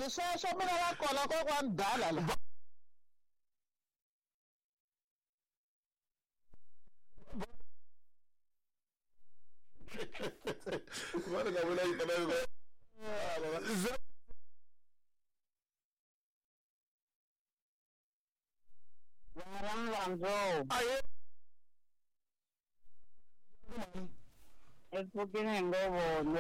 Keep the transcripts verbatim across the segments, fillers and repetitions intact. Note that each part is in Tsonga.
tirhi sweswo mina va kona kokwani dala la. Va ri nga vula yi tala Aye. Epfukile ngopfu.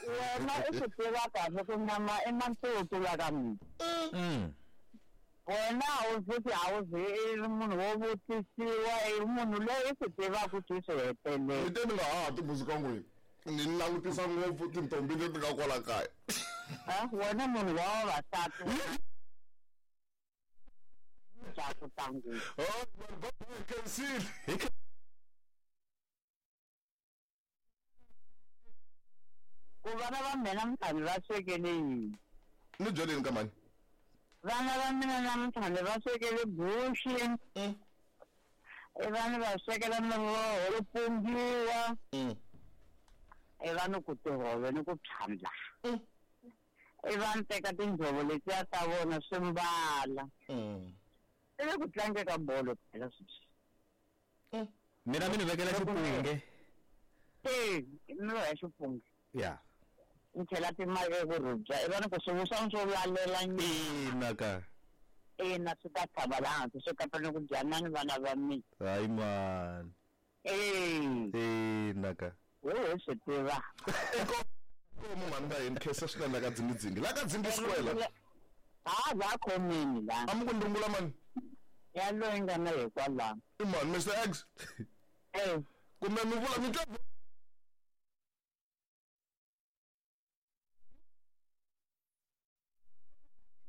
Wena i swi tiva kahle ku nyama i matutu la ka mina. Wena a wu futhi a wu zi i ri munhu wo vutisiwa i munhu loyi i swi tivaka ku swi hetelela. Ni te ni nga ha timbuzi ka n'wina ni langutisa ngopfu tintombi leti nga kwala kaya. Ah, wena munhu wa vavasati. Oh, khensile. Ku vana va mina namuntlha va swekele yini? Ni byeleni ka mani? Vana va mina namuntlha va swekele guxi. I vana va swekela miroho yo pumbiwa. I vanhu ku tihove ni ku phyandla. I vanhu teka tinjhovo letiya ta vona swi mbala. I le ku tlange ka bolo phela sweswi. Mina mi ni vekela xipunge. E, i miroho ya xipunge. Ya. Ni chela timali eku rhubya i vona ku swivuswa swo lalela ina ka. Ina swi ta tshava laha hansi swi kota ni ku dya na ni vana va mina. Hayi mani. E. Ina ka. We hi swi tiva. Inkomu mhani ka yini khensa swinene la ka dzingidzingi la ka dzingi square. Ha la khomeni la. A mi ku ni rungula mani? Ya loyi nga na hikwalaho. I mani Mister X? Eh. Kumbe mi vula mi twa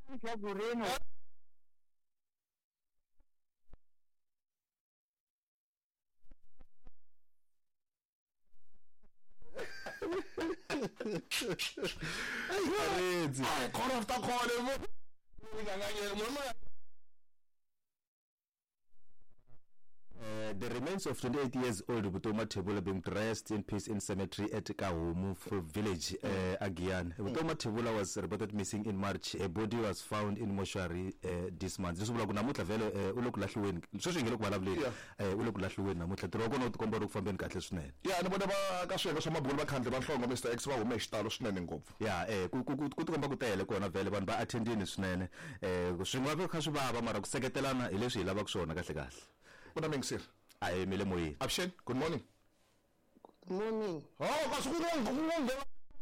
Ntlhakurini. Ai, call after call. Uh, the remains of twenty-eight years old Butoma Thebolla being dressed in peace in cemetery at Kahumu village, uh, Agian. Mm. Butoma Thebolla was reported missing in March. A body was found in mortuary uh, this month. Leswi vulaka ku namuntlha vhele u le ku lahliweni. Sweswi hi nge le ku vulavuleni. U le ku lahliweni namuntlha. Ntirho wa kona wu tikomba wu ri ku fambeni kahle swinene. Ya, ni vona va ka swiyenge swa mabulu va khandle va nhlongo Mister X va hume hi xitalo swinene ngopfu. Ya, eh ku ku ku tikomba ku tele kona vhele vanhu va attendini swinene. Eh swi nga va kha swi vava mara ku seketelana hi leswi hi lavaka swona kahle kahle. Good morning, sir. I am Mile Moyi. Abshen, good morning. Good morning. Oh, kasi ku